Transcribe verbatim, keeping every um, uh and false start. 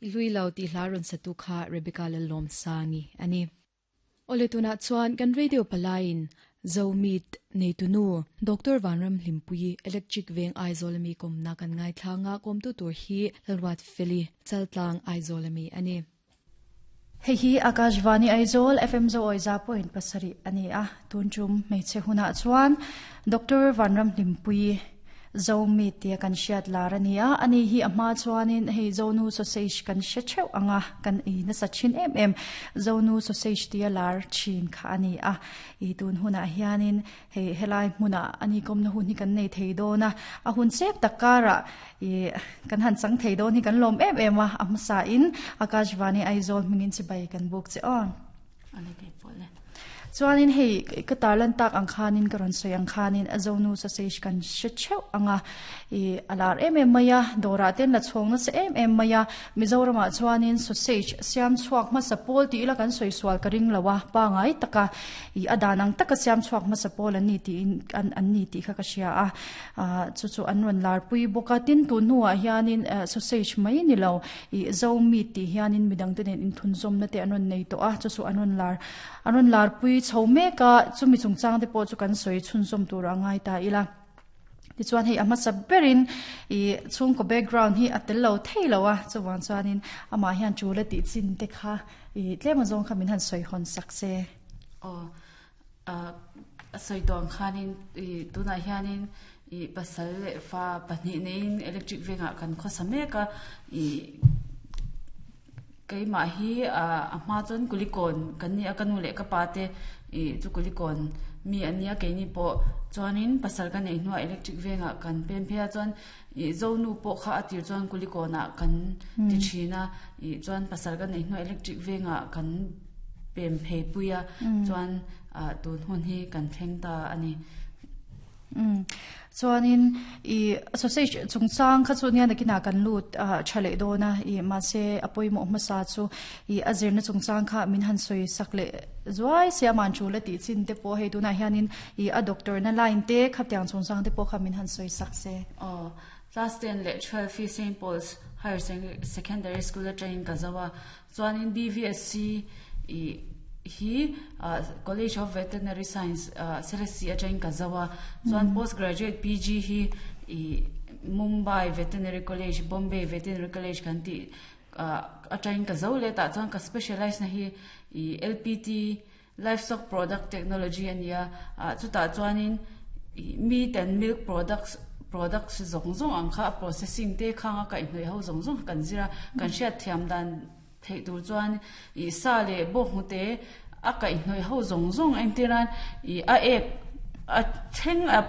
Lui lo ti hla ron satu kha Rebecca Lalom Sangi ani. Ole tuna chuan kan radio palain Zomit neitunu Doctor Vanram Hlimpui Electric Veng Aizawl mi kom na kan ngai thlanga kom tu tur hi Lalwat Feli Chaltlang Aizawl mi ani. Hei hi Akashvani Aizawl F M zo oiza point pasari ani a. Tunchum hmeichhe huna chuan Doctor Vanram Hlimpui, Zomi tia kan hriat lar ani a. Ani hi a hma chuanin hei Zonu sausage kan hre theuh anga, kan ei nasa thin em em Zonu sausage tia lar thin kha ani a. I tun hunah hianin hei helai hmuna ani kawmna hun hi kan nei thei dawn a, a hun chep takara i kan han chang thei dawn hi kan lawm em em a. A hmasa in Akashvani Aizawl hmingin chibai kan buk che aw. Ale ke pole. Chuanin hei ka tarlan tak ang khanin, ka rawn sawi ang khanin, a Zonu sausage kan hre theuh anga, i alar em em mai a, dawrah ten la chhawng nasa em em mai a. Mizoramah chuanin sausage siam chhuak hmasa pawl ti ila kan sawi sual ka ring lo a, pangai taka i a dan ang taka siam chhuak hmasa pawl an ni ti an an ni tih kha ka hria a. Chu chu an rawn lar pui bawk a. Tin, tun hnuah hianin sausage mai ni lo, i Zomi ti hianin midang te nen inthun zawmna te an rawn nei tawh a. Chu chu an rawn lar an rawn lar pui chho mek a. Chumi chungchang te pawh chu kan sawi chhunzawm tur a ngai ta ila. Tichuan hei a hmasa berin i chhungkaw background hi a tel lo thei lo a. Chuwang chuanin amah hian chula tih chin te kha i tlem azawng kha min han sawi hawn sak se. O, a sawi tawng khanin i tunah hianin i pasal leh fa pahnih neiin Electric Vengah kan khawsa mek a. I keimah hi a hma chuan Kulikawn kan ni a, ka nu leh ka pa te i chu Kulikawn mi an nia. Keini pawh chuanin pasal ka nei hnuah Electric Vengah kan pen phei a. Chuan i Zonu pawh kha a tir chuan Kulikawnah kan ti thin a. I chuan pasal ka nei hnuah Electric Vengah kan pem phei pui a. Chuan tun hun hi kan thleng ta ani. Chuanin i sausage chungchang kha chu nia nakina kan lut thale dona. I ma se apawimawh hmasa chu i a zirna chungchang kha min han sawi sak le zuai se. Aman chu la ti chin te pawh hei tunah hianin i a doctor na line te khaptiang chungchang te pawh kha min han sawi sak se. Oh, class ten leh twelve hi Saint Paul's Higher Secondary School atangin ka zo a. Chuanin B V S C i hi College of Veterinary Science, Selesih atangin ka zo a. Chuan postgraduate P G hi i Mumbai Veterinary College, Bombay Veterinary College kan ti atangin ka zo le ta. Chuan ka specialize na hi i L P T, Livestock Product Technology ania. Chutah chuanin meat and milk products products zawng zawng ang kha processing te khanga ka hnoi ho zawng zawng kan zira. Kan hriat thiam dan thei tur chuan i sa leh bawk hu te a kai hnoi ho zawng zawng engtiran i a ek a thleng a.